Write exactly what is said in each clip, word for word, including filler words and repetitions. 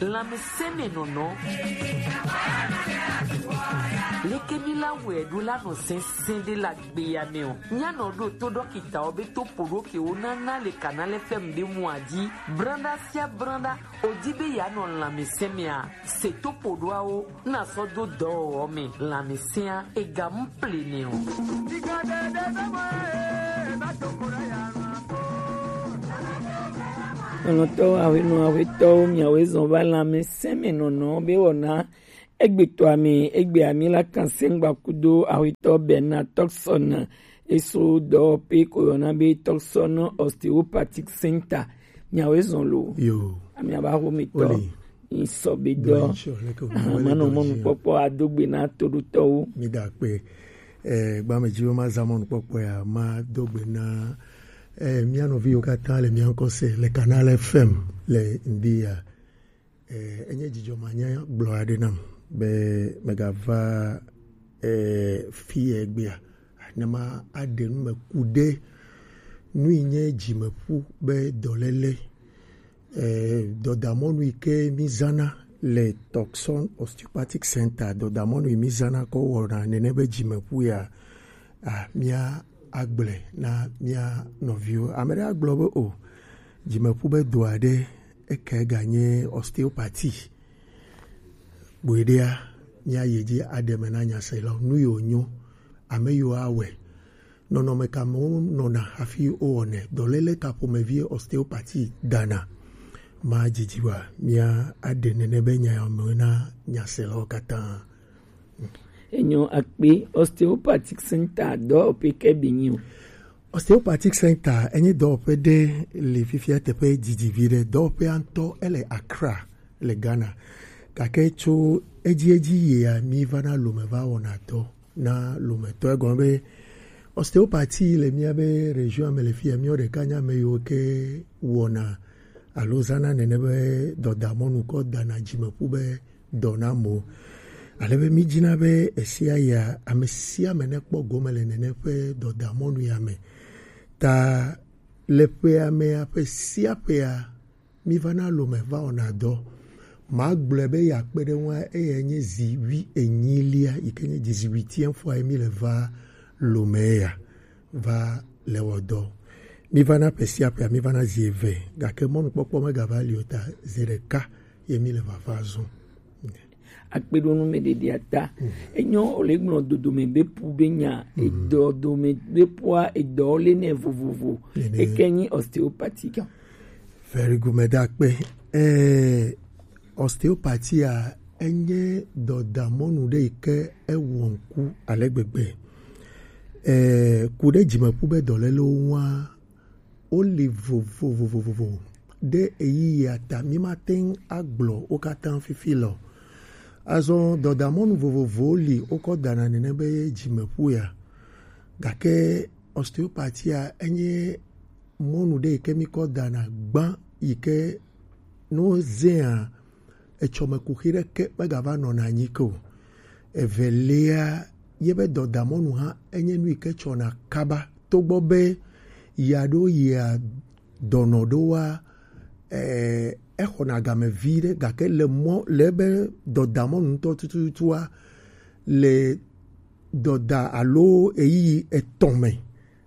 Lanmeseme nono. Leke mi la wɛ do la no sɛnsɛn de la gbe ya me o. Nya no do to dɔkita o be to podo ke o na na le kanale fɛm de mu aji. Branda sia branda. O di be ya no lanmeseme a. Se to podo a o. Na sɔ do dɔ o me. Lanmesea e ga mu plene o. Nɔnɔtɔwo, aƒenɔ, aƒetɔwo, miawoe zɔn va lanmeseme nɔnɔ be wɔna egbetɔa me, egbea mi la kan sɛngba kudo aƒetɔ Bernard Tɔksɔn eso dɔwɔƒe ko yɔna be Tɔksɔn Osteopathic Center. Miawoe zɔn lo. Yo. Ami aba ho mi tɔ. Oli. Nsɔ be dɔ. Dɔ nsɔ, leke wo Aha, le manɔ dɔ mɔnu dzi. Kpɔkpɔ ado gbe na toɖotɔwo. Mi da akpe. Eh, gbame dzi be ma za mɔnu kpɔkpɔ ya, ma do gbe na, eh, mia nɔviwo katã le mia ŋkɔ se le Canal F M le ŋdi ya. Eh, enye dzidzɔ manya gblɔ aɖe nam be megava, eh, fi egbea. Ne ma aɖe nu me ku ɖe nu yi nye dzimeƒu be dɔléle. Eh, dɔdamɔnu yi ke mi zana le Tucson Osteopathic Center, dɔdamɔnu yi mi zana kɔ wɔna nene be dzimeƒu ya, ah, mia agblɔe na mia nɔviwo. Ame ɖe agblɔ be o, dzimeƒu be dɔ aɖe eke ganye osteopathy. Gbeɖea, mia yi dzi aɖe me na nyaselawo, nu yiwo nyo, ame yiwo awɔe. Nɔnɔme ka me wonɔna hafi wowɔnɛ? Dɔléle ka ƒomevi osteopathy dana? Ma dzidzi wa, mia aɖe nene be nya me na nyaselawo katã. Enyo akpe. Osteopathic Center dɔwɔƒe ke bi nyi o. Osteopathic Center enye dɔwɔƒe ɖe le fifia teƒe didi vi ɖe. Dɔwɔƒea ŋutɔ ele Accra le Ghana. Gake tso edzi edzi yia, mi va na lome va wɔna dɔ na lometɔ. Egɔme be osteopathy le mía be région me le fia, míawo ɖeka nye ame yiwo ke wɔna alo zãna nene be dɔdamɔnu kɔ dana dzimeƒu be dɔ na amewo. Ale be mídina be esia ya, ame sia ame nekpɔ gome le nene ƒe dɔdamɔnu ya me. Ta le ƒea mea, ƒe sia ƒea, míva na lome va wɔna dɔ. Magblɔe be yeakpe ɖe ŋua, eyae nye zi wuienyilia, yi ke nye dix-huitième fois ye míle va lome ya va le wɔ dɔ. Míva na ƒe sia ƒea, míva na zi eve, gake mɔnukpɔkpɔ megava li o ta zi ɖeka ye míle vava zɔm. Akpeɖonumeɖeɖea ta. Enyo wòle gblɔ dodome be pu be nya, edɔ dome be pua, edɔ le nɛ vovovo. Eke nyi osteopathique. Very good, meda akpe. Eh, osteopathy a, enye dɔdamɔnu ɖe yi ke ewɔ ŋku ale gbegbe. Eh, ku ɖe dzimeƒu be dɔlélewo ŋua, woli vovovovovo ɖe ɣeyiɣia ta. Mímate ŋu agblɔ wo katã fifi lɔ. Azɔ dɔdamɔnu vovovowo li wokɔ dana nene be dzimeƒu ya. Gake osteopathy a, enye mɔnu ɖe yi ke míkɔ dana gbã yi ke ne wozẽa, etsɔme kuxi ɖeke megava nɔna anyi ke o. Evelia, ye be dɔdamɔnu hã enye nu yi ke tsɔna kaba, togbɔ be ya ɖo yia dɔnɔ ɖoa, eh, exɔna game vi ɖe, gake le mɔ, le ebe dɔdamɔnu ŋutɔ tututua, le dɔda alo ɣeyiɣi etɔ̃ me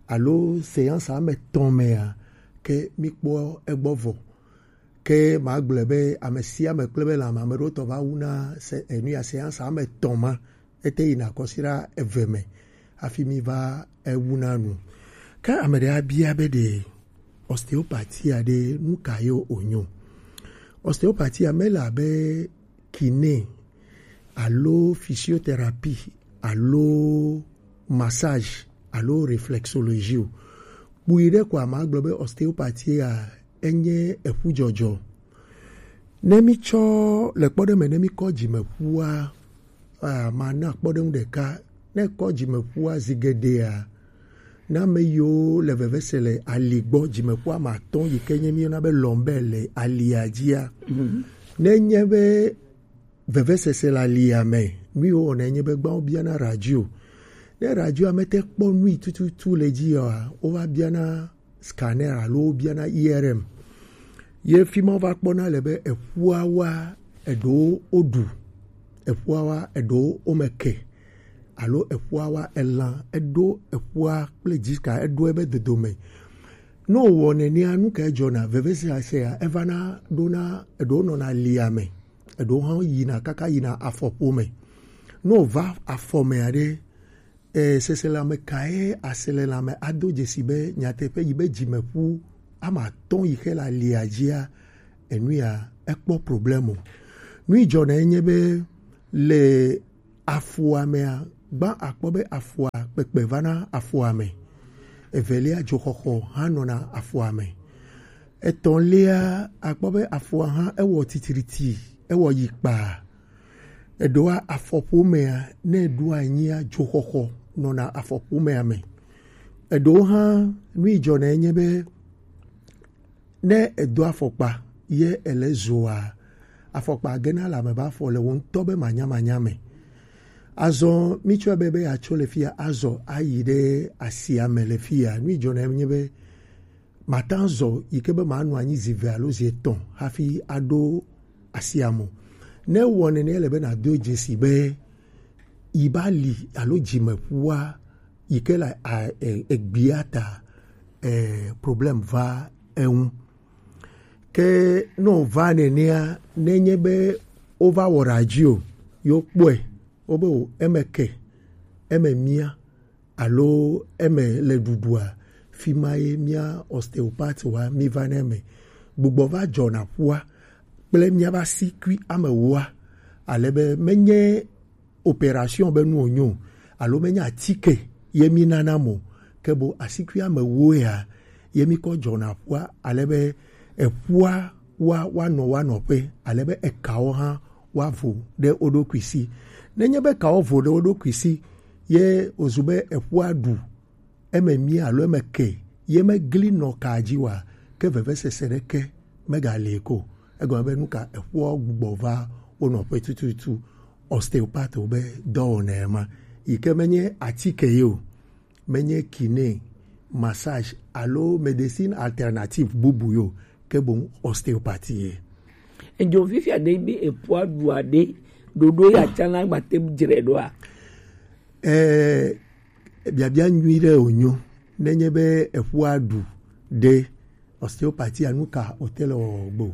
alo séance ame etɔ̃ mea, ke míkpɔ egbɔ vɔ. Ke magblɔe be ame sia ame kple be lãme, ame ɖewo tɔ va wuna se, enu ya séance ame etɔ̃ ma, ete yina kɔsiɖa eve me hafi mi va ewuna nu. Ke ame ɖe abia be ɖe osteopathy a ɖe nu ka ye wònyo? Osteopathy a mele abe kiné alo physiothérapie alo massage alo réflexologie o. Kpui ɖe koa magblɔ be osteopathy a enye eƒudzɔdzɔ. Ne mítsɔ le kpɔɖeŋu me, ne míkɔ dzimeƒua, ah, mana kpɔɖeŋu ɖeka. Ne kɔ dzimeƒua zi geɖea, na ame yiwo le veve se le ali gbɔ, dzimeƒua me atɔ̃ yi ke nye míyɔna be lombaire le alia dzia, ne nye be vevesese le alia me, nu yiwo wɔna nye be gbã wobiana radio. Ne radioa mete kpɔ nui tututu le dzi oa, wova biana scanner alo wobiana I R M. Ye fi ma wova kpɔna le be eƒuawoa, eɖewo woɖu eƒua wa, eɖewo wome ke, alo eƒua wa elan, eɖo eƒua kple dzika, eɖo ebe dodome. Ne wòwɔ nenea, nu kae dzɔna? Vevesese ya evana ɖona, eɖewo nɔna lia me, eɖewo hã yina kaka yina afɔƒome. Ne wòva afɔ mea ɖe, e, seselelãme kae aselelãme ado dzesi be nyateƒe yi be dzimeƒu ame atɔ̃ yi xe le alia dzia, enu ya ekpɔ problème o. Nu yi dzɔna enye be le afɔa mea, gbã akpɔ be afɔa kpekpe vana afɔa me. Evelia, dzoxɔxɔ hã nɔna afɔa me. Etɔ̃lia, akpɔ be afɔa hã ewɔ titriti, ewɔ yi kpaa. Eɖewoa, afɔƒomea, ne eɖo anyia, dzoxɔxɔ nɔna afɔƒomea me. Eɖewo hã, nu yi dzɔna enye be ne edo afɔkpa ye ele zoa, afɔkpa gena le ame be afɔ le wò ŋutɔ be manyamanya me. Azɔ mitsɔe be, be yeatso le fia azɔ ayi ɖe asia me le fia. Nu yi dzɔna enye be màte ŋu azɔ yi ke be manɔ anyi zi eve alo zi etɔ̃ hafi aɖo asia me o. Ne ewɔ nene, ele be nàdo dzesi be yi be ali alo dzimeƒua yi ke le a- e- egbea ta, e, problème va eŋu. Ke ne wòva nenea, nenye be wova wɔ radio, yewo kpɔe, wobe o, eme ke, eme mia, alo eme le ɖuɖua, fi ma ye mía ostéopathe wa mi va ne eme. Gbugbɔ va dzɔna ƒua kple míaƒe asikui ame ewoa, ale be menye opération be nu wònyo o, alo menye atike ye mi nana mo, ke bo asikui ame ewo ya ye mi kɔ dzɔna ƒua, ale be eƒua wa woanɔ woa nɔƒe, ale be ekawo hã woavo ɖe wo ɖokui si. Nenye be ekawo vo ɖe wo ɖokui si, ye wòzu be eƒua ɖu eme mia alo eme ke, ye megli nɔ kaa dzi oa, ke vevesese ɖeke megali ko. Egɔme be nu ka? Eƒua gbugbɔ va wo nɔƒe tututu. Ostéopathe be dɔwɔna ma, yi ke menye atike ye o, menye kiné, massage alo médecine alternative bubu yo, ke boŋ ostéopathie. Edzo fifia ɖe be eƒua ɖua ɖe, ɖoɖo ya tsã na gbate dzre ɖoa? Eh, biabia nyui ɖe wònyo. Nenye be eƒua ɖu ɖe, ostéopathie nu ka wòte le wɔwɔ gbe o?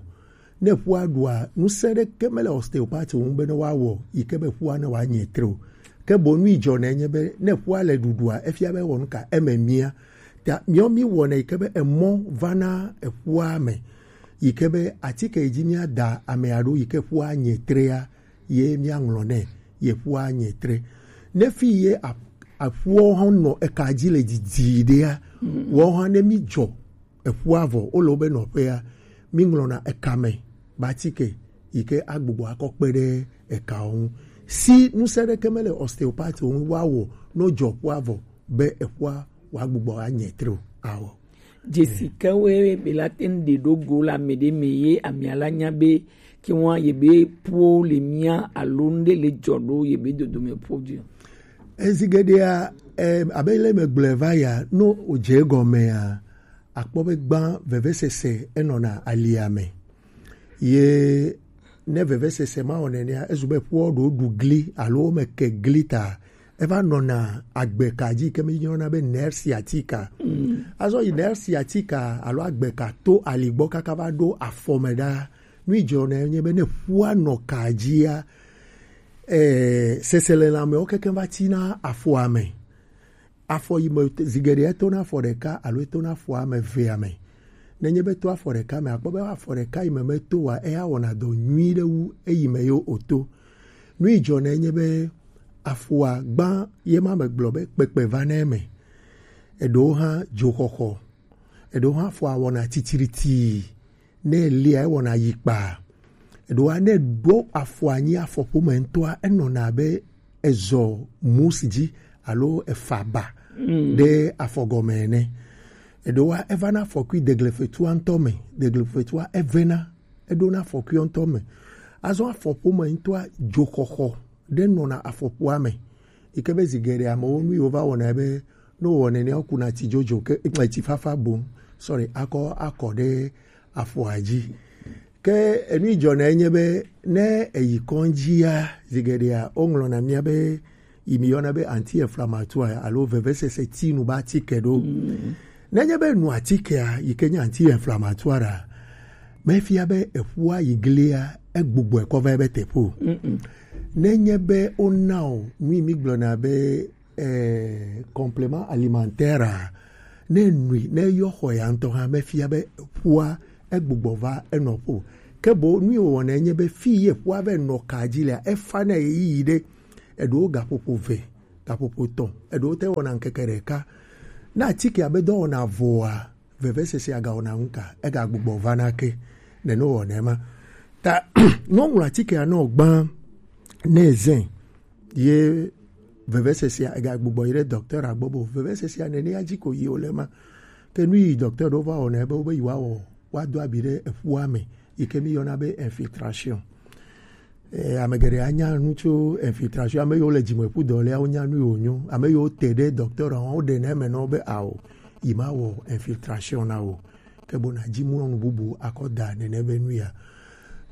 Ne ƒua ɖua, ŋusẽ ɖeke mele ostéopathe ŋu be ne woawɔ yi ke be ƒua ne wòanye tre o. Ke boŋ nu yi dzɔna enye be ne ƒua le ɖuɖua, efia be ewɔ nu ka? Eme mia. Ta míawo míwɔna yi ke be emɔ vana eƒua me, yi ke be atike yi dzi míada amea ɖo yi ke ƒua nye trea, ye míaŋlɔ nɛ, ye ƒua nye tre. Ne fi ye a- aƒuawo hã nɔ eka dzi le didi ɖea, woawo hã ne mídzɔ eƒua vɔ, wole wobe nɔƒea, míŋlɔna eka me be atike yi ke agbugbɔ akɔ kpe ɖe ekawo ŋu. Si ŋusẽ ɖeke mele ostéopathe ŋu woawɔ ne wodzɔ ƒua vɔ be eƒua wòagbugbɔ anye tre o. Awɔ. Dzesi kewoe be la te ŋu ɖe ɖo go le ame ɖe me ye amea la nya be ke ŋua ye be ƒuwo le mia alo ŋɖe le dzɔ ɖo ye be dodome ƒo dzi o. Ezi geɖea, em, abe le megblɔe va ya, no wòdze egɔmea, akpɔ be gbã vevesese enɔna alia me. Ye ne vevesese ma wɔ nenea, ezu be ƒuwo ɖo ɖu gli alo wome ke gli ta, eva nɔna agbeka dzi ke mi yɔna be nerve sciatique. Mm. Azɔ yi nerve sciatique alo agbeka to ali gbɔ kaka va ɖo afɔ me ɖa. Nu yi dzɔna nye be ne ƒua nɔ ka dzia, eh, seselelãmewo keke va tina afɔa me. Afɔ yi me zi geɖe etona afɔ ɖeka alo etona afɔ ame evea me. Nenye be to afɔ ɖeka me, akpɔ be afɔ ɖeka yi me meto wa, eya wɔna dɔ nyui ɖe wu eyi me yo oto. Nu yi dzɔna nye be afɔa gbã ye ma megblɔ be kpekpe va ne eme. Eɖewo hã dzoxɔxɔ, eɖewo hã afɔa wɔna titiritii, ne elia ewɔna yi kpaa. Eɖewoa ne ɖo afɔ anyi afɔƒome ŋutɔa, enɔna abe ezɔ mus dzi alo efa ba ɖe afɔ gɔme ene. Eɖewoa evana afɔkui deglefetua ŋutɔ me, deglefetua evena, eɖona afɔkuia ŋutɔ me. Azɔ afɔƒome ŋutɔa dzoxɔxɔ ɖe nɔna afɔƒoa me. Yi ke be zi geɖe amewo nu yiwo va wɔna be ne wowɔ nenea wokuna tsi dzodzo ke, eh, tsi fafa boŋ. Sorry, akɔ akɔ ɖe afɔa dzi. Ke enu yi dzɔna enye be, ne eyi kɔdzi ya, zigeɖea, woŋlɔna mía be, yi mi yɔna be anti-inflammatoire alo vevesese tinu ba atike ɖo. Mm. Nenye be nu atikea, yi ke nye anti-inflammatoire a, mefia be eƒua yi glia, egbugbɔe kɔ va ebe teƒe o. Mm-mm. Nenye be wona o, nu yi mi gblɔna be, eh, complément alimentaire a, ne nui, ne yɔ xɔ ya ŋutɔ hã, mefia be ƒua egbugbɔ va enɔƒe o. Ke boŋ nu yi wòwɔna enye be fi ye ƒua va nɔ ka dzi lea, efa na ɣeyiɣi ɖe, eɖewo gaƒoƒo ve, gaƒoƒo etɔ̃, eɖewo te wɔna ŋkeke ɖeka. Ne atikea be dɔwɔna vɔa, vevesesea gawɔna ŋu ka, egagbugbɔ va na ke, nene wòwɔna ema. Ta ne woŋlɔ atikea nɔ gbã, ne zẽ, ye vevesesea egagbugbɔ yi ɖe docteur gbɔ bo. Vevesesea nenea dzi ko yi wòle ma. Ke nu yi docteur ɖewo va wɔna be wobe yewoawɔ, woado abi ɖe eƒua me, yi ke mi yɔna be infiltration. Eh, ame geɖe anya nu tso infiltration. Ame yiwo le dzimeƒu dɔ lea, wonya nu yi wònyo. Ame yiwo te ɖe docteur hã, woɖe na eme na wo be ao, yi ma wɔ infiltration na wo. Ke bo na dzi mlɔ nu bubu akɔ da nene be nu ya.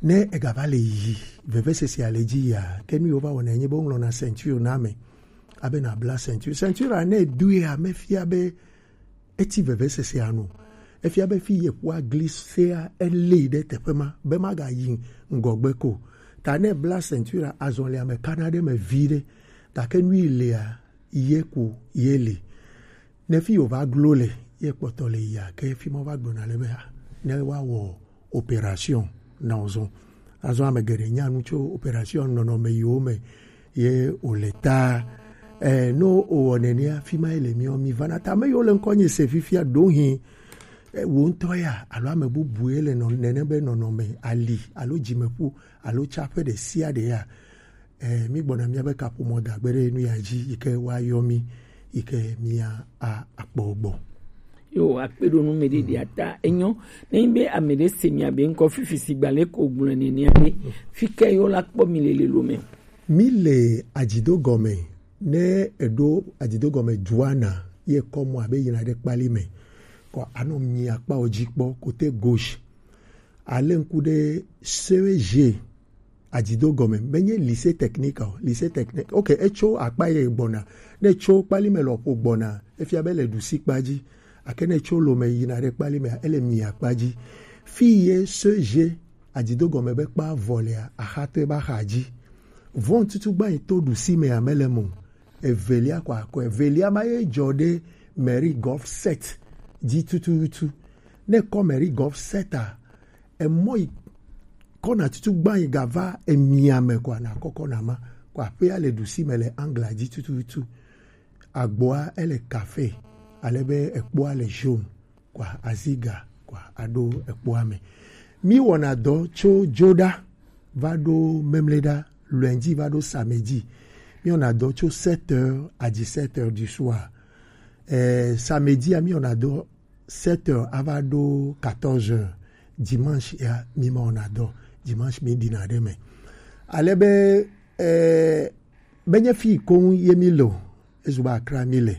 Ne egava le yi, vevesesea le dzi ya, ke nu yiwo va wɔna enye be woŋlɔna ceinture na ame. Abe na bla ceinture. Ceinture a ne edoea, mefia be eti vevesesea nu. Efia be fi ye ƒua glisea, elée ɖe teƒe ma, be magayi ŋgɔgbe ko. Ta ne bla ceinture a, azɔlia me kana ɖe me vi ɖe. Gake nu yi lea, ye ko ye li. Ne fi wòva glo le, ye kpɔtɔ le yia, ke fi ma wova gblɔna le be, ah, ne woawɔ opération na wo zɔn. Azɔ ame geɖe nya nu tso opération nɔnɔme yiwo me ye wòle ta. Eh, no wòwɔ nenea, fi ma ye le miɔ mi vana. Ta ame yiwo le ŋkɔ nye se fifia ɖo hin, eh, wò ŋutɔ ya, alo ame bubu ye le nɔ-, nene be nɔnɔme ali, alo dzimeƒu, alo tsaƒe ɖe sia ɖe ya. Eh, mi gbɔna mía be kaƒomɔ da gbe ɖe nu ya dzi, yi ke woayɔ mi, yi ke mía a-, akpɔ gbɔ. Yo, akpe ɖo nu me ɖe ɖia ta. Enyo, ne nyi be ame ɖe se mia be ŋkɔ fifi si gbalẽ ko gblɔe nenea ɖe, fi ke yo la kpɔ mi le lelo me? Mi le adzido gɔme, ne eɖo adzido gɔme Joana, ye kɔ mɔ abe yina ɖe kpali me. Kɔ anɔ mi akpawo dzi kpɔ, côté gauche. Ale ŋku ɖe C E G, adzido gɔme, menye lycée technique o, lycée technique. Ok, etso akpa ye gbɔna. Ne tso kpali me lɔƒo gbɔna, efia be le ɖusi kpa dzi. Ake ne tso lome yina ɖe kpali me, ele mi akpa dzi. Fi ye C E G adzido gɔme be kpa vɔ lea, axatɔe ba xa dzi. Vɔn tutu gba yi to ɖusi me ame le mo. Evelia ko akɔ. Evelia ma ye dzɔ ɖe Mary Golf Set dzi tututu. Ne kɔ Mary Golf Set a, emɔ yi kɔna tutu gba yi gava emia me kɔa, na kɔkɔ na ma. Kɔa aƒea le ɖusi me le angla dzi tututu. Agboa ele kafe, ale be ekpoa le jaune, kɔa aziga, kɔa aɖo ekpoa me. Mi wɔna dɔ tso dzoɖa va ɖo memleɖa, lundi va ɖo samedi. Mi wɔna dɔ tso sept heures à dix-sept heures du soir. Eh, samedi a mi wɔna dɔ sept heures ava ɖo quatorze heures. Dimanche ya mi ma wɔna dɔ. Dimanche mi ɖina ɖe me. Ale be, eh, menye fi koŋ ye mi le o, ezu be Accra mi le.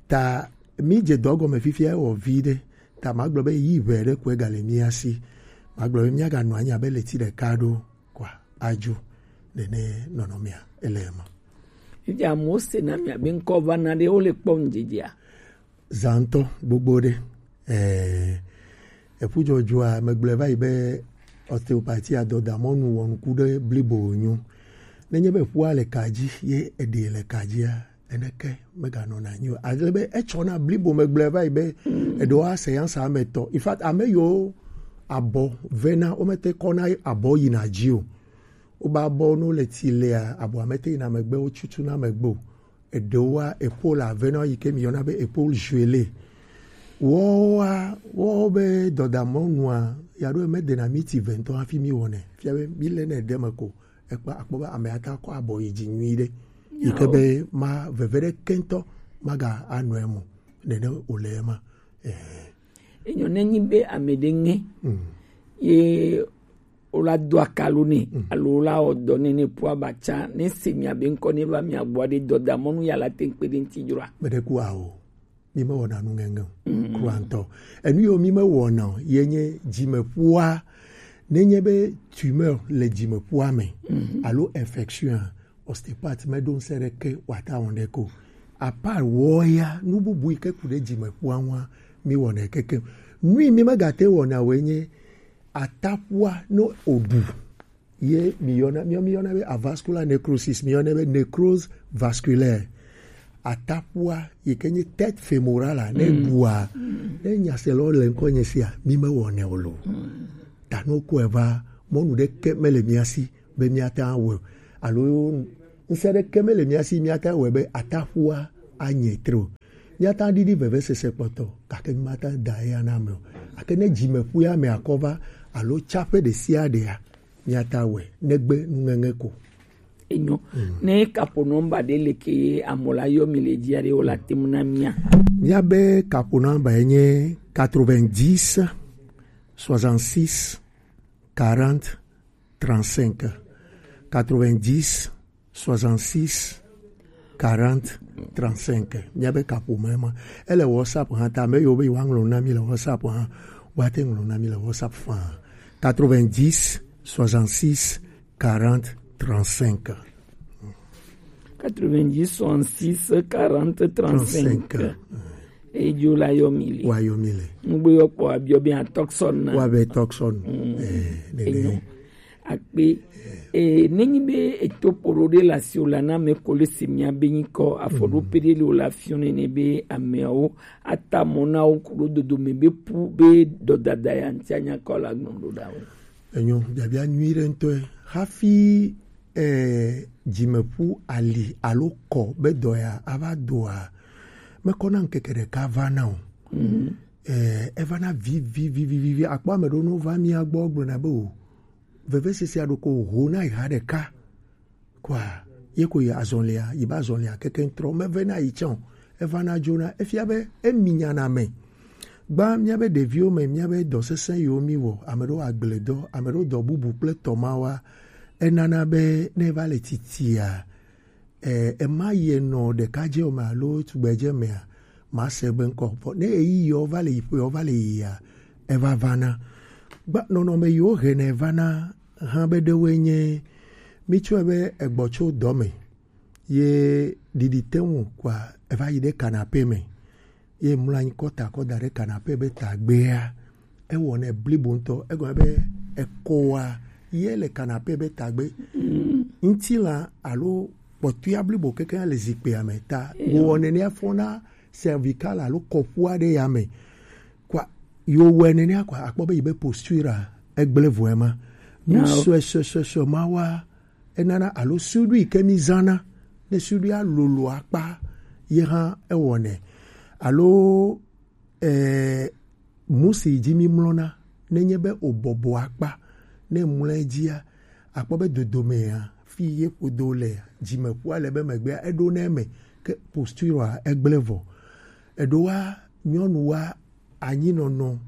Ta mi dze dɔ gɔme fifia ewɔ vi ɖe. Ta magblɔ be yi ʋɛ ɖe koe gale mía si. Magblɔ be míaganɔ anyi abe leti ɖeka ɖo kɔa adzo. Nene nɔnɔmea ele ema. Fifia amewo sena mia be ŋkɔ va na ɖe wole kpɔ ŋdzedzea? Zãtɔ gbogbo ɖe. Eh, eƒu dzɔdzɔa, megblɔe va yi be ostéopathie adɔdamɔnu wɔnuku ɖe blibo wònyo. Nenye be ƒua le ka dzi, ye eɖee le ka dzia, eneke meganɔna anyi o. Ale be etsɔna blibo, megblɔe va yi be eɖewo ase ya sa ame tɔ. In fact, ame yiwo abɔ vena, womete kɔna abɔ yina dzi o. Wobe abɔ no le ti lea, abɔa mete yina megbe, wotsutuna megbe o. Eɖewoa, épaule avena yi ke mi yɔna be épaule gelée. Woa, wo be dɔdamɔnua, ya ɖo medena miti ve ŋutɔ hafi mi wɔnɛ. Fia be mi le ne ɖe me ko, ekpa akpɔ be ame ata kɔ abɔ yi dzi nyui ɖe. Yi ke be ma veve ɖe kentɔ maga anɔ emo. Nene wòle ema. Eh. Enyo ne nyi be ame ɖe ŋe. Mm. Ye wola do akalo nɛ, mm, alo wola wɔ dɔ nɛ ne ƒua ba tsa, ne se mia be ŋkɔ ne va mia gbɔ ɖe dɔdamɔnu ya la te ŋkpe ɖe ŋuti dzroa? Meɖe ku ao. Mi me wɔna nu ŋeŋe o. Mm. Kura ŋutɔ. Enu yiwo mi me wɔna o, ye nye dzimeƒua, Nenye be tumeur le dzimeƒua me, mhm, alo infection a, ostéopathe meɖo ŋusẽ ɖeke wòata wɔn ɖe ko. Apart wɔ ya, nu bubu yi ke ku ɖe dzimeƒua ŋua, mi wɔnɛ kekeŋ. Nu yi mi megate wɔna woe nye atapua no oɖu. Ye mi yɔna, mi, mi yɔna be avascular necrosis, mi yɔna be nécrose vasculaire. Atapua yi ke nye tête fémorale a, ne, mm, ɖua, ne nyaselawo le ŋkɔ nye sia, mi mewɔnɛ o lo. Mm. Ta no ko eva, mɔnu ɖeke mele mia si be miata wɔe o. Alo ŋusẽ ɖeke mele mia si miata wɔe be atapua anye tre o. Miata ɖiɖi vevesese kpɔtɔ, gake mi mata da eya na ame o. Gake ne dzimeƒu ya me akɔ va, alo tsaƒe ɖe sia ɖea, miata wɔe negbe nuŋeŋe ko. Enyo. Mm. Ne kaƒo nɔmba ɖe le ke amola yɔ mi le dzia ɖe o la tem na mia. Miabe kaƒo nɔmba ye nye quatre-vingt-dix, soixante-six, quarante, trente-cinq. Quatre-vingt-dix, soixante-six, quarante, trente-cinq. Miabe kaƒomɔ ma. Ele WhatsApp hã ta, ame yiwo be yewoaŋlɔ na mi le WhatsApp hã, woate ŋlɔ na mi le WhatsApp faa. Quatre-vingt-dix, soixante-six, quarante, trente-cinq. Quatre-vingt-dix, soixante-six, quarante, trente-cinq. Trente-cinq. Edzo la yɔ mi le. Wa yɔ mi le. Nugbe yɔ kpɔ abiɔ be atɔksɔn na. Wa be tɔksɔn. Mm. Eh, nene. Enyo. Akpe. Eh, nenyi be eto poro ɖe le asi o la, na ame ko le se mia be nyikɔ afɔɖoƒe ɖe le o la fiɔ nene be ameawo ata mɔ na wo ku ɖo dodome be pu be dɔdada ya ŋuti anya kɔ la gbɔn ɖo ɖa wo. Enyo, biabia nyui ɖe ŋutɔe. Hafi, eh, dzimeƒu ali alo kɔ be dɔ ya ava doa, mekɔna ŋkeke ɖeka va na o. Mhm. Eh, evana vivi, vivi, vivi. Akpɔ ame ɖewo no va mía gbɔ gblɔna be o, vevesese aɖo ko ho na yi ha ɖeka. Kɔa, ye ko yi azɔlia, yi ba azɔlia keke ŋtrɔ. Meve na yi tsã o. Eva na dzona. Efia be emi nyana me. Gba míabe ɖeviwo me, míabe dɔ sesẽ yiwo mi wɔ, ame ɖewo agble dɔ, ame ɖewo dɔ bubu kple tɔ ma wa. Enana be ne va le titia, eh, ema yi enɔ ɖekadze me alo tugbedze mea, ma se be ŋkɔ. Vɔ ne eyi yɔ va le yi ƒe yɔ va le yia, eva vana. Gba nɔnɔme yiwo hena evana hã be ɖewoe nye, mítsɔe be egbɔ tso dɔ me. Ye ɖiɖi te ŋu kɔa, eva yi ɖe kanape me. Ye mlɔ anyi kɔ ta kɔ da ɖe kanape be tagbea, ewɔnɛ blibo ŋutɔ. Egɔme be ekɔa, ye le kanape be tagbe. Mm. Ŋutilã alo kpɔtɔea blibo kekeŋ le zikpuia me ta. Eyo. Wowɔ nenea fɔna cervical alo kɔƒu aɖe ya me. Kɔa, yo wɔe nenea kɔa, akpɔ be yi be posture a, egblẽ vɔe ma. Nu sue, sue, sue, sue ma wa, enana alo suɖui ke mi zãna, ne suɖuia lolo akpa, ye hã ewɔnɛ. Alo, eh, musi dzi mi mlɔna, nenye be o bɔbɔ akpa, ne mlɔ edzia, akpɔ be dodomea, fi ye ƒodo le, dzimeƒua le be megbea, eɖo ne eme, ke posture a, egblẽ vɔ. Eɖewoa, nyɔnuwoa, anyinɔnɔ,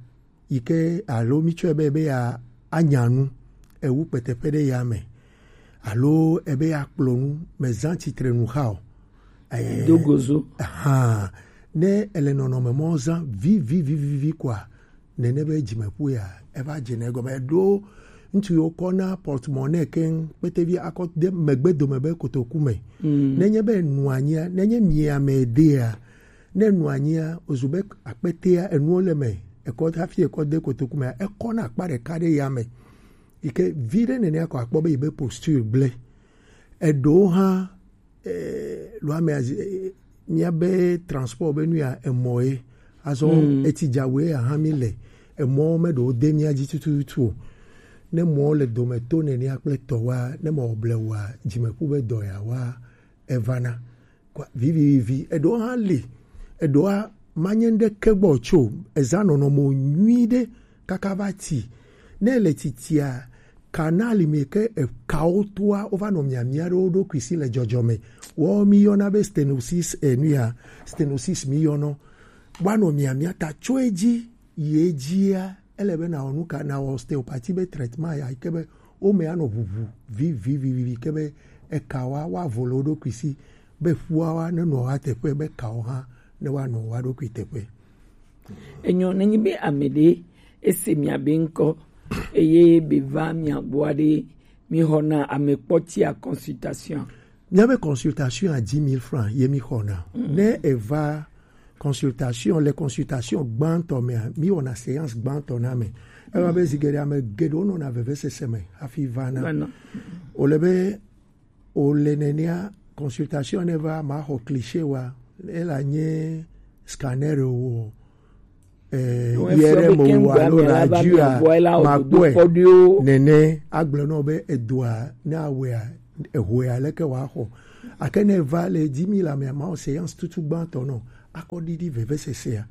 yi ke alo mítsɔe be, be ya anya nu, ewu kpeteƒe ɖe ya me, alo ebe ya kplɔ nu, mezã tsitrenu xa o. Eh, do gozo. Hã, ne ele nɔnɔme mɔ zã vivi, vivi, vivi kɔa, nene be dzimeƒu ya, eva dze ne egɔme. Eɖo ŋutsu yiwo kɔna porte-monnaie keŋ, kpetevi akɔ de megbe dome be kotoku me. Mm. Nenye be enu anyia, nenye mia me dea, ne enu anyia, ozu be akpetea, enuwo le me, ekɔ hafi ekɔ de kotoku mea, ekɔna akpa ɖeka ɖe ya me. Yi ke vi ɖe nenea ko akpɔ be yi be posture gblẽ. Eɖewo hã, eh, lo ame azi, eh, míabe transport be nu ya emɔ ye. Azɔ, mm, etsi dzawe ya hã mi le. Emɔ me ɖewo de mía dzi tututu o. Ne mɔ le dome to nenea kple tɔwa, ne mɔ ble wa, dzimeƒu be dɔ ya wa, evana. Kɔa, vivivivi, eɖewo hã li, eɖewoa manye ŋɖeke gbɔ tso, ezã nɔnɔme nyui ɖe kaka va ti. Ne ele titia, kanal mi ke ekawo toa, wova nɔ miamia ɖe wo ɖokui si le dzɔdzɔme. Wɔ mi yɔna be stenosis, eh, nu ya, stenosis mi yɔnɔ. Woanɔ miamia ta tso edzi, yi edzia, ele be nawɔ nu ka, nawɔ ostéopathie be traitement ya, yi ke be wo me anɔ ʋuʋu vivivivi ke be ekawoa woavo le wo ɖokui si, be ƒuawoa nenɔ woa teƒe, be kawo hã ne woanɔ woa ɖokui teƒe. Enyo, nenyi be ame ɖe ese mia be ŋkɔ, Eye be va mia gbɔ aɖe, mi xɔna ame kpɔtia consultation. Míabe consultation à dix mille francs ye mi xɔna. Ne eva consultation, le consultation gbãtɔ mea, mi wɔna séance gbãtɔ na ame. Eva be zi geɖe ame geɖewo nɔna vevesese me hafi vana. Vana. Wòle be wòle nenea, consultation ne va maxɔ cliché wa, ela nye scanner o, eh, Wo efia be I R M kengbe o alo ame la va radio mia gbɔ, ela wɔ makpɔe dodokpɔ ɖoe o. Nene agblɔ nɔ be edoa ne awea ehoea leke wòaxɔ. Ake ne va le dix mille amea, mawɔ séance tutu gbãtɔ nɔ, akɔ ɖiɖi vevesesea.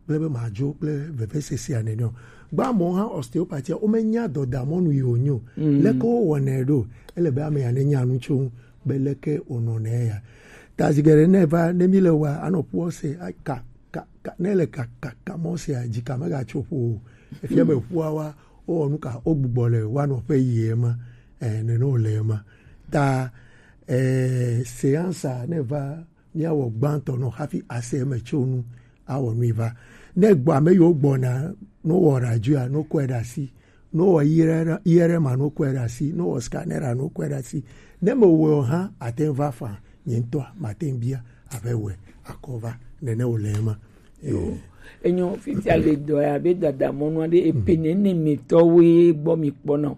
Kple be madzo kple vevesesea nene o. Gbã mɔ hã ostéopathie, womenya dɔdamɔnu yi wònyo. Leke wowɔnɛ ɖo? Ele be ame ya nenya nu tso ŋu be leke wònɔnɛ ya. Ta zi geɖe ne va, ne mi le wa, anɔ ƒua se, a-, ka, ka, ka, ne le ka, ka, ka mɔ sea, dzi ka megatso ƒo o. Efia be ƒua wa, wowɔ nu ka, wogbugbɔ le wa nɔƒe yi ema. Eh, nene wòle ema. Ta, eh, séance a, ne va, míawɔ gbãtɔ nɔ hafi ase eme tso nu awɔ nui va. Ne gbɔ ame yiwo gbɔna, no wɔ radio a, no kɔe ɖe asi, no wɔ I R M a, no kɔe ɖe asi, no wɔ scanner a, no kɔe ɖe asi. Ne me wɔe o hã, ate ŋu va fa, nye ŋutɔa, mate ŋu bia, abe wɛ, akɔ va, nene wòle ema. Yo. Enyo, fifia le dɔ ya, be dada mɔnu aɖe, epe nene me tɔwoe gbɔ mi kpɔna o.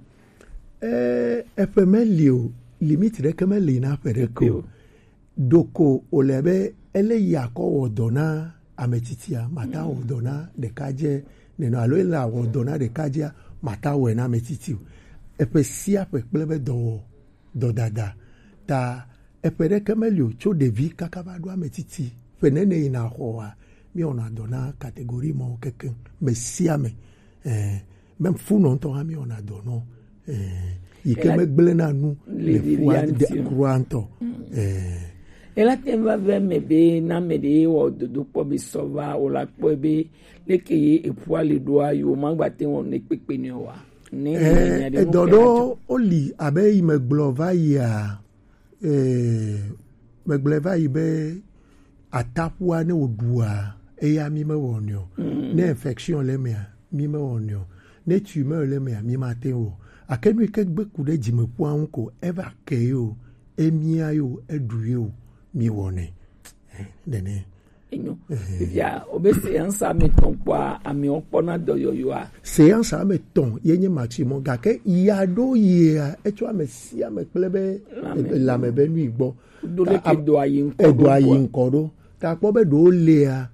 Eh, eƒe meli o, limite ɖeke meli na ƒe ɖeke o. Ɖoko wòle be ele yi akɔ wɔ dɔ na ame tsitsia, mata wɔ dɔ na ɖekadze nene, alo ele awɔ dɔ na ɖekadzea, mata wɔe na ame tsitsi o. Eƒe sia ƒe kple be dɔwɔ, dɔdada. Ta eƒe ɖeke meli o, tso ɖevi kaka va ɖo ame tsitsi. Ƒe nene yina xɔa, míwɔna dɔ na catégorie mawo kekeŋ, me sia me. Eh, même funɔ ŋutɔ hã míwɔna dɔ nɔ. Eh, yi ke megblẽna nu le fua de kura ŋutɔ. Eh. Ela te va ve me be na me ɖe wɔ dodokpɔ be sɔ va, o la kpɔe be leke ye eƒua le ɖoa, yo magba te wɔ ne kpekpe ne wa. Ne eh, nya ɖe edɔ ɖo woli abe yi megblɔ va yia, eh, megblɔ va yi be ataƒua ne wòɖua, eya mi mewɔnɛ o. Ne infection le emea, mi mewɔnɛ o. Ne tumeur le emea, mi mate ŋu o. Ake nu yi ke gbe ku ɖe dzimeƒua ŋu ko, eva ke ye o, emia ye o, eɖu ye o, mi wɔnɛ. Eh, nene. Enyo. Fifia, wobe séance ame etɔ̃ kpɔa, amewo kpɔna dɔyɔyɔa. Séance ame etɔ̃ ye nye maximum, gake ya ɖo yia, etsɔ ame sia ame kple be lame be nui gbɔ. Ɖo ɖeke dɔa yi ŋkɔ ɖo. Edɔa yi ŋkɔ ɖo. Ta kpɔ be ɖewo lea,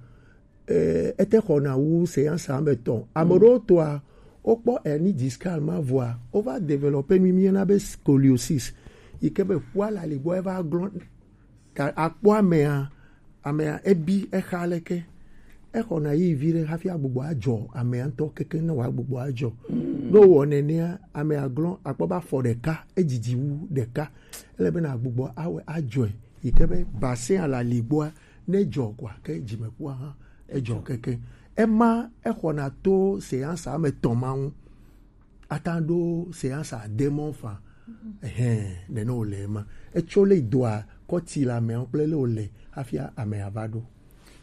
eh, ete xɔna wu séance ame etɔ̃. Ame ɖewo tɔa, wokpɔ hernie discale ma vɔa, wova développer nu mi yɔna be scoliosis. Yi ke be ƒua le aligbɔ eva glɔ̃. Ta akpɔ amea, amea ebi exa leke. Exɔna yi vi ɖe hafi agbugbɔ adzɔ amea ŋutɔ keke ne wòagbugbɔ adzɔ. Ne wowɔ nenea, amea glɔ̃ akpɔ be afɔ ɖeka, edzidzi wu ɖeka. Ele be nàgbugbɔ awɔe adzɔe. Yi ke be bassin a le aligbɔa, ne dzɔ koa, ke dzimeƒua hã edzɔ keke. Ema exɔna to séance ame etɔ̃ ma ŋu. Ata ɖo séance ade mɔ fa. Ehɛn, nene wòle ema. Etso le doa kɔti le amea kple le wòle hafi amea va ɖo.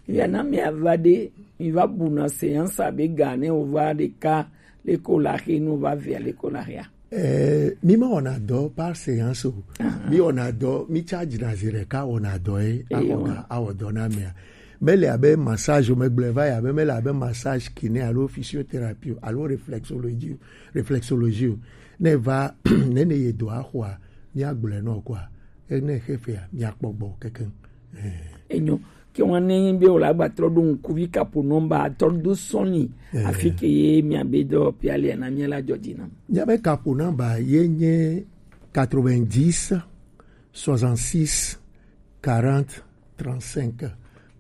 Ya na amea va ɖe, mi va buna séance abe ga ne wòva ɖeka, leke wòle axe, ne wòva vea, leke wòle axea. Eh, mi mewɔna dɔ par séance o. Mi wɔna dɔ, mi charge na zi ɖeka wɔna dɔ ye, awɔ ga, awɔ dɔ na amea. Mele abe massage o, megblɔe va yi abe mele abe massage kiné alo physiothérapie o, alo réflexologie, réflexologie o. Ne va, ne ne ye dɔ axɔa, míagblɔe nɔ koa, ne xefea, míakpɔ gbɔ kekeŋ. Eh. Enyo. Ke wan ne be wòle agba trɔ ɖo ŋkuvi kapo nɔmba trɔ do sɔni. Eh. Afi ke ye mia be dɔ pialia na mia la dzɔdzi nam. Mia be kapo nɔmba ye nye quatre-vingt-dix, soixante-six, quarante, trente-cinq.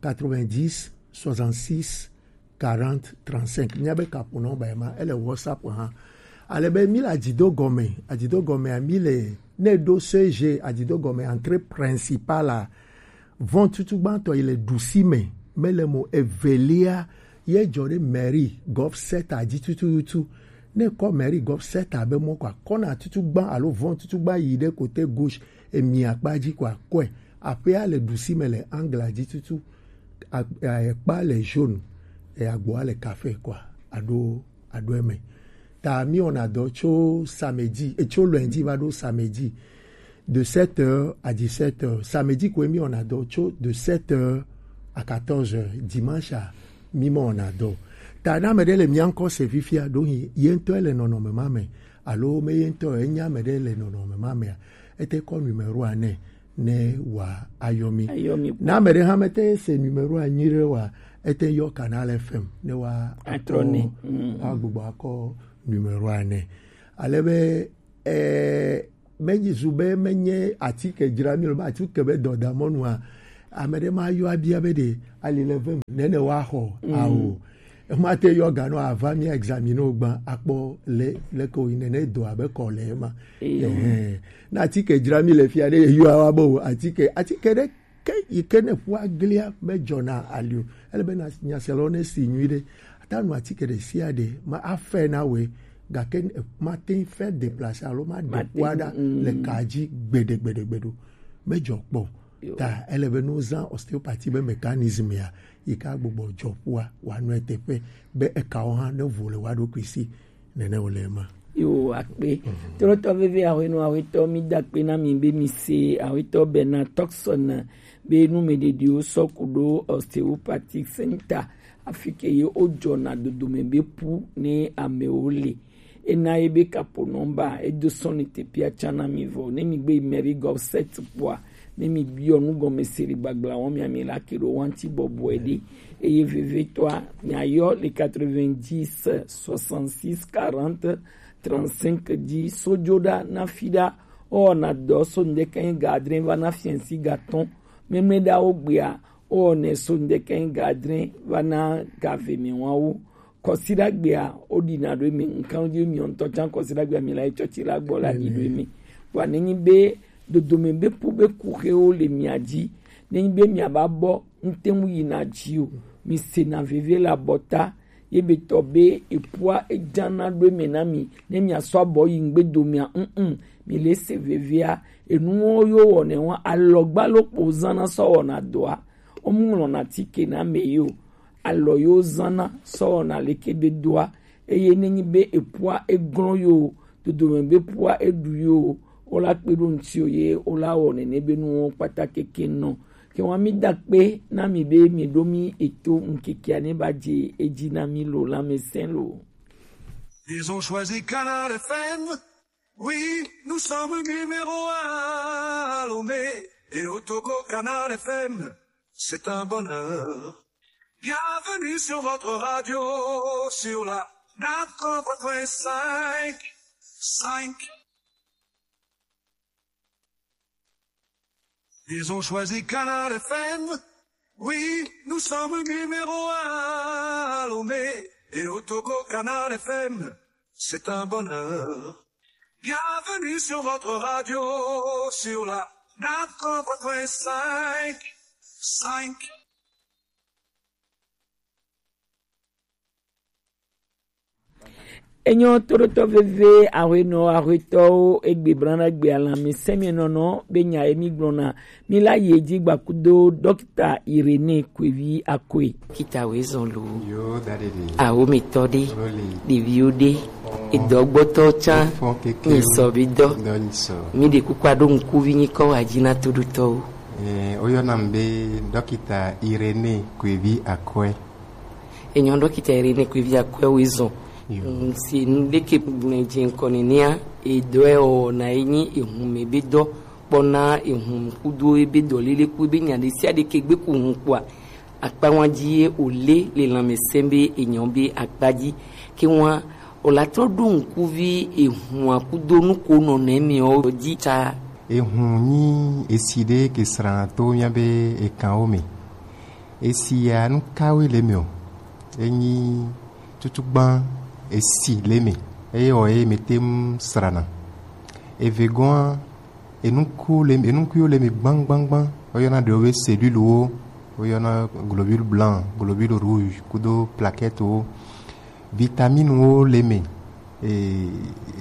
Quatre-vingt-dix, soixante-six, quarante, trente-cinq. Mia be kapo nɔmba ye ma, ele WhatsApp hã. Ale be mi le adzido gɔme, adzido gɔmea mi le, ne ɖo C G adzido gɔme, entrée principale a, vɔn tutu gbãtɔ yi le ɖusi me, mele mo. Evelia, ye dzɔ ɖe mairie Golf Center dzi tututu. Ne kɔ mairie Golf Center be mɔ kɔa, kɔna tutu gbã alo vɔn tutu gbã yi ɖe côté gauche, emi akpa dzi kɔa, kɔe. Aƒea le ɖusi me le angle dzi tutu. A-, a-, ekpa le jaune, e agboa le café kɔa, aɖo, aɖo eme. Ta mi wɔna dɔ tso samedi, e, tso lundi va ɖo samedi, de sept heures à dix-sept heures. Samedi koe mi wɔna dɔ tso de sept heures à quatorze heures. Dimanche a, mi me wɔna dɔ. Ta ne ame ɖe le mia ŋkɔ se fifia, ɖo hi ye ŋutɔ le nɔnɔme ma me, alo me ye ŋutɔ enya ame ɖe le nɔnɔme ma mea, ete kɔ numéro a nɛ ne wa ayɔ mi. Ayɔ mi kpɔ. Na ame ɖe hã mete se numéro a nyuie ɖe wa, ete yɔ Canal F M ne wa Atrɔ akɔ nɛ. Mm. Agbugbɔ akɔ numéro a nɛ. Ale be, eh, menyi zu be menye atike dzra mi lo, be atike be dɔdamɔnua, ame ɖe ma yɔ abia be ɖe ali le vem, nene wa xɔ. Mm. Ao. Ema te yɔ ga nɔ ava mi examine wo gbã akpɔ le, leke wo yi nene do abe kɔ le ema. Eyo. Ɛhɛn. Na atike dzra mi le fia ɖe yɔ awa be o atike, atike ɖe ke yi ke ne ƒua glia me dzɔna ali o. Ele be na nyaselawo ne si nyui ɖe. Ata nu atike ɖe sia ɖe ma afɛ na we, gake ne, mate ŋu fɛ déplacer alo ma ɖe kua ɖa le ka dzi gbeɖe, gbeɖe, gbeɖe o. Me dzɔ kpɔ. Yo. Ta ele be ne wozã ostéopathie be mécanisme ya, yi ke agbugbɔ dzɔ ƒua, wòanɔ eteƒe, be ekawo hã ne vo le woa ɖokui si, nene wòle ema. Yo, akpe. Mhm. Trɔtɔ veve ahwenɔ ahwetɔ, mi da akpe na mi be mi se ahwetɔ Bernard Tuckson be nu me ɖeɖiwo sɔ ku ɖo ostéopathic center, afi ke ye wodzɔna dodome be ƒu ne amewo le. Ena ye be kapo nɔmba, edo sɔni tepia tsã na mi vɔ. Ne mi gbe yi Mary Gov set kpɔa, ne mi biɔ nugɔmeseri gbagblã wɔn mia mi la ke ɖo wanti bɔbɔe ɖe. Eye vevetɔa, mia yɔ le quatre-vingt-dix, soixante-six, quarante, trente-cinq dzi. Sojoɖa na fiɖa, owɔna dɔ so ŋdeke ga adre va na fiɛnsi ga tɔn. Memleɖawo gbea, owɔnɛ so ŋdeke ga adre va na ga ve mi wawo. Kɔsiɖagbea, woɖina ɖo eme, ŋkan dzi mi ŋutɔ tsã kɔsiɖagbea mi la yi tsɔtsi la gbɔ la ɖi ɖo eme. Vɔa nenyi be dodome be ƒu be kuxewo le mia dzi, nenyi be mia ba bɔ ŋte ŋu yina dzi o, mi sena veve le abɔta, ye be tɔ be eƒua edzana ɖo eme na mi, ne mia sɔ abɔ yi ŋgbedomea, mm, mi le se vevea, enuwo yo wɔnɛ wa alɔgba lokpo zana sɔ wɔna dɔa, wo mu ŋlɔna tike na ame yi o. Alɔ yewo zãna sɔ wɔna leke be doa, eye nenyi be eƒua eglɔ̃ yo, dodome be ƒua eɖu yo, wola kpe ɖo ŋuti o ye wola wɔ nene be nuwo kpata keke nɔ. Ke wa mi da akpe na mi be mi ɖo mi eto ŋkekea ne ba dze edzi na mi lo, lãmesẽ lo. Ils ont choisi Canal F M. Oui, nous sommes numéro un à Lomé et au Togo, Canal F M. C'est un bonheur. Bienvenue sur votre radio, sur la quatre-vingt-treize cinq. Cinq. Ils ont choisi Canal F M. Oui, nous sommes numéro un à Lomé et au Togo, Canal F M. C'est un bonheur. Bienvenue sur votre radio, sur la quatre-vingt-treize cinq. Cinq. Enyo toɖotɔ veve, ahwenɔ, ahwetɔwo, egbe blana gbe alã mi sɛmienɔnɔ be nya ye mi gblɔna. Mi la yi edzi gba kudo dɔkita Irénée Kwevi Akoe. Kita wezɔn lo. Yo, dadede. Awo mi tɔ de. Loli. Ɖeviwo de. Edɔgbɔtɔ tsã. Fɔ keke. Nyisɔ bi dɔ. Dɔ nyisɔ. Mi ɖe kuku aɖo ŋkuvi nyikɔ wa dzi na toɖotɔwo. Eh, woyɔna mi be dɔkita Irénée Kwevi Akoe. Enyo dɔkita Irénée Kwevi Akoe wezɔn. Yo. Mm, si nu ɖe ke gblẽ dze ŋkɔ nenea, edɔe wɔ na ye nyi ehun me be dɔ kpɔna ehun kudo ebe dɔ lele ku ebe nya ɖe sia ɖe ke gbe ku hun kpɔa, akpawa dzi ye wòle le lãmesẽ be enyo be akpa dzi. Ke wa wòla trɔ ɖo ŋkuvi ehun akudo nuko nɔ nɛ mi o dzi ta. Ehun nyi esi ɖe ke srã to mía be ekanwo me. Esi ya nu kawoe le eme o? Enyi tutugbã esi le eme, eye wɔ ye mete ŋu srana. Evegɔa, enuku le, enukuwo le eme gbaŋgbaŋgbaŋ. Woyɔna ɖewo be cellules wo, woyɔna globule blanc, globule rouge, kudo plaquettes wo. Vitamines wo le eme, e,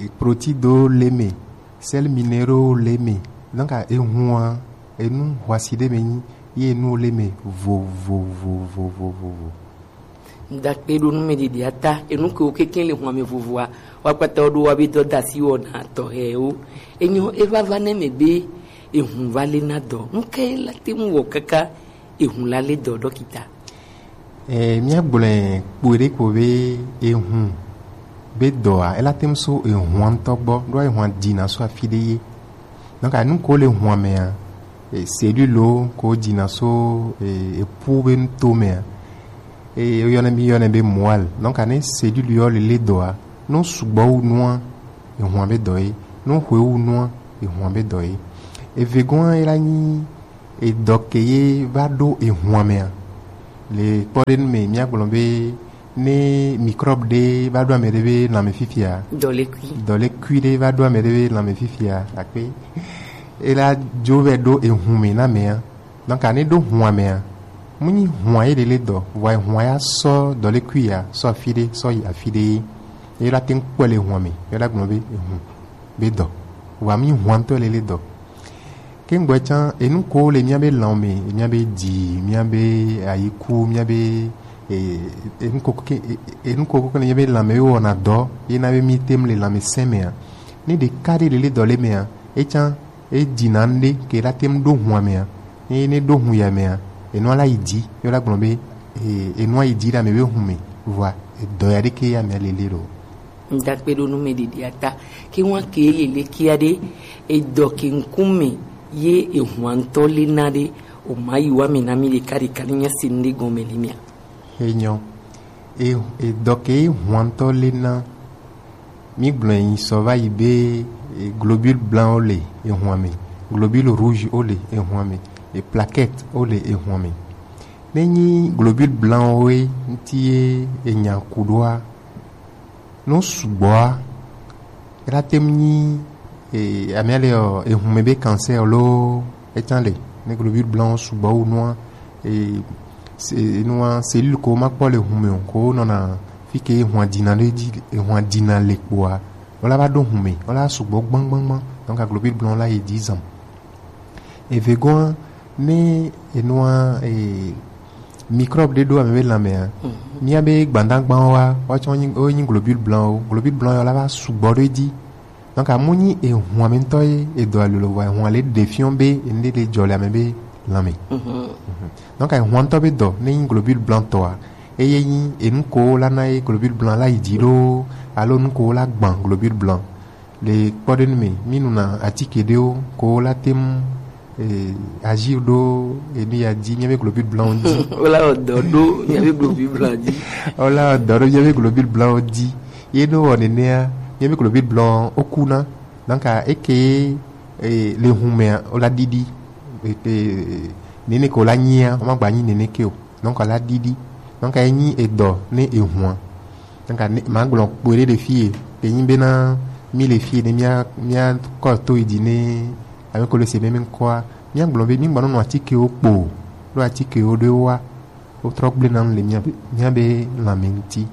e, protides wo le eme, sels minéraux wo le eme. Donc, ehua, enu huasi ɖe me nyi, ye enu wo le eme vovovovovovo. Dakpe ɖo nu me ɖiɖi ata, enu ke wo keke le hwame vovoa, wa kpata wo ɖo wa be dɔ da si wɔna tɔxɛwo. Enyo eva va ne me be ehun va le na dɔ. Nu ke la te ŋu wɔ kaka ehun la le dɔ ɖɔkita? E, míagblɔe kpɔe ɖe ko be ehun be dɔa, ela te ŋu so ehun ŋutɔ gbɔ, ɖo ehun dina so afi ɖe ye. Donc, enu ko le hwamea, e, cellule ko dina so, e, epu be nuto mea, e, woyɔnɛ, míyɔnɛ be moelle. Donc, ne cellule yɔ le le dɔa, no sugbɔ wu nua, ehun be dɔ ye. No hwe wu nua, ehun be dɔ ye. Evegɔa, ela nyi edɔ ke ye va ɖo ehun mea. Le kpɔɖenu me, míagblɔ be ne microbe ɖe va ɖo ame ɖe be lãme fifia, dɔlekui, dɔlekui ɖe va ɖo ame ɖe be lãme fifia, akpe, ela dzo vɛ ɖo ehun me na mea. Donc, ne ɖo hua mea, mu nyi hua ye lele dɔ, vɔa hua ya sɔ dɔlekui ya sɔ afi ɖe sɔ yi afi ɖe ye. Ela te ŋu kpɔe le hua me, ela gblɔ be ehun be dɔ, vɔa mu nyi hua ŋutɔ lele dɔ. Ke ŋgbɔ tsã, enu ko le míabe lãwo me, míabe dzi, míabe ayiku, míabe, e, enu ko ke, e, enu ko ke le míabe lãme ye wɔna dɔ, ye na be mí te ŋu le lãmesẽ mea. Ne ɖeka ɖe lele dɔ le mea, etsã, e dina ŋɖe ke la te ŋu ɖo hua mea. Ne, ne ɖo hu ya mea, enua la yi dzi, ye la gblɔ be, e, enua yi dzi ɖe ame be hu me, vɔa edɔ ya ɖeke ya mea lele ɖo. Ŋdakpe ɖo nu me ɖeɖi ata. Ke ŋua ke lele kia ɖe edɔ ke ŋkume ye ehua ŋutɔ le na ɖe o ma yi wa me na mi ɖeka ɖeka ne mía se nu ɖe gɔme le mía. Enyɔ. E, edɔ ke ehua ŋutɔ le na mi gblɔ yi sɔ va yi be, e, globule blanc o le ehua me, globule rouge o le ehua me, e, plaquette o le ehua me. Ne nyi globule blanc o ye ŋuti ye enya ku ɖoa, no sugbɔa, ela te ŋu nyi, e, amia le ɔ, ehun me be cancer loo, etsã le, ne globule blanc sugbɔ wu nua, e, se, nua, cellule ko ma kpɔ le hun me o, ko nɔna fi ke ehun dina le dzi, ehun dina le kpoa, o la va ɖo hun me, o la sugbɔ gbãgbãgbã, donc globule blanc la yi dzi zam. Evegɔa, ne enua, e, microbe ɖe ɖo ame be lãmea, mía be gbadagbawo wa, woatsɔ nyi, wo nyi globule blanc o. Globule blanc yɔ la va sugbɔ ɖo edzi. Donc, amu nyi ehun ame ŋutɔ ye edɔ alolo vɔa, ehun le ɖe fiɔ be enu ɖe le dzɔ le ame be lãme. Mhm. Donc, ehun ŋutɔ be dɔ, ne nyi globule blanc tɔa, eye nyi enu ko la na ye globule blanc la yi dzi loo, alo nu ko la gbã globule blanc. Le kpɔɖenu me, mí nuna atike ɖewo ko la te ŋu, e, agir ɖo enu ya dzi, míabe globule blanc dzi. Wola wɔ dɔ ɖo míabe globule blanc dzi. Wola wɔ dɔ ɖo míabe globule blanc dzi. Ye ne wɔ nenea, míabe globule blanc wo kuna. Donc, eke, e, le hun mea, wola ɖiɖi. E, e, nene ko la nyia, wo ma gba nyi nene ke o. Donc, la ɖiɖi. Donc, enyi edɔ ne ehun. Donc, ne, ma gblɔ kpoe ɖe le fie. Ke nyi bena mi le fie ne mia, mia kɔ to yi dzi ne ame ko le se meme ŋkɔa, mia gblɔ be mi gba nɔ atikewo kpo. Ɖo atikewo ɖe wa. Wo trɔ gblẽ na nu le mia, mia be lãme ŋuti.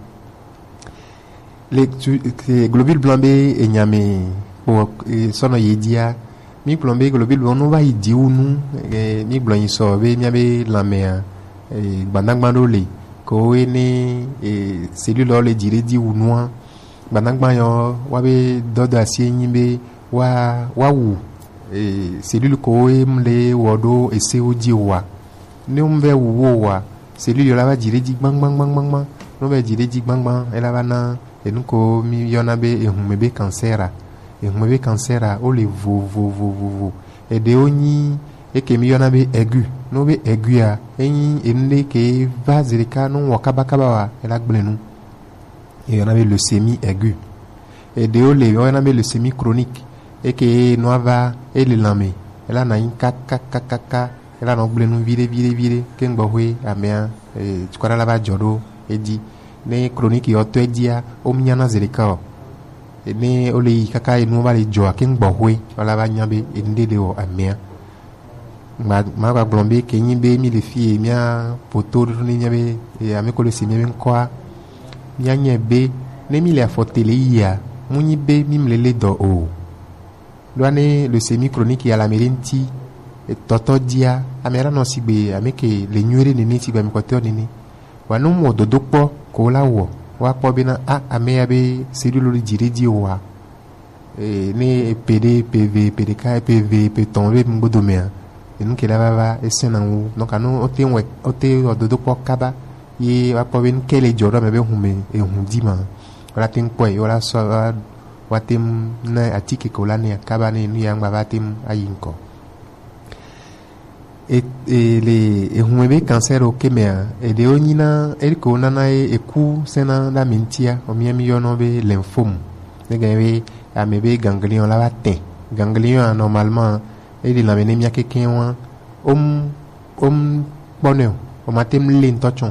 Le tu, ke globule blanc be enya me kpo, e, sɔnɔ ye dzia, mi gblɔ be globule blanc no va yi dzi wu nu, e, mi gblɔ yi sɔ be mia be lãmea, e, gbadagba ɖo le, ko wo ne, e, cellule le dzi ɖe dzi wu nua, gbadagba yɔ wa be dɔdɔ asi enyi be wa, wa wu, e, cellule ko wo mu le wɔ ɖo ese wo dzi wa. Ne ŋu vɛ wu wo wa, cellule la va dzi ɖe dzi gbãgbãgbãgbã. Ne ŋu vɛ dzi ɖe dzi gbãgbã, ela va na enu ko mi yɔna be ehun me be cancer a. Ehun me be cancer a, wo le vovovovovo. Eɖewo nyi eke mi yɔna be aigu. Ne wo be aigu a, enyi enu ɖe ke va zeɖeka ne ŋu wɔ kabakaba wa, ela gblẽ nu. Eyɔna be leucémie aiguë. Eɖewo le, woyɔna be leucémie chronique. Eke nua va, ele lãme, ela nɔ anyi kakakakaka, ela nɔ gblẽ nu viɖe, viɖe, viɖe, ke ŋgbɔxwe amea, e, cukaɖa la va dzɔ ɖo edzi. Ne chronique yɔ tɔ edzia, wo mu nyana zeɖeka o. Ne wo le yi kaka enuwo va le dzɔa, ke ŋgbɔxwe, wola va nya be enu ɖe le wɔ amea. Ma, ma gba gblɔ be ke nyi be mi le fie mia poto ɖo ne mia be, e, ame ko le se mia be ŋkɔa, mia nyɛ be ne mi le afɔ te le yia, mu nyi be mi mle le dɔ o. Ɖoa ne le semi chronique ya le ame ɖe ŋuti, e, tɔtɔ dzia, ame la nɔ sigbe ame ke le nyuie ɖe nene sigbe ame kpɔtɔewo nene. Wa ne mu wɔ dodo kpɔ, ko la wɔ, wa kpɔ bena a ame ya be cellule ɖe dzi ɖe dzi wa. E, ne epe ɖe, epe eve, epe ɖeka, epe eve, epe etɔ̃ be ŋgbodo mea, enu ke la va va esẽ na ŋu. Donc anu wote ŋu, wote wɔ dodo kpɔ kaba ye wa kpɔ be nu ke le dzɔ ɖo ame be hume ehu di ma, wala te ŋu kpɔe, wala sɔ, wa, wa te ŋu na atike ke wala ne kaba ne nu ya ŋgba va te ŋu ayi ŋkɔ. E, e, le ehume be cancer o ke mea, eɖewo nyina eko nana ye eku sẽna ɖe ame ŋutia, o mia mi yɔnɔ be lymphome. Ne gã be ame be ganglion la va tẽ. Ganglion a normalement e le lãme ne mia keke wa, om, om kpɔnɛ o, o ma te ŋu le ŋutɔ tsɔ.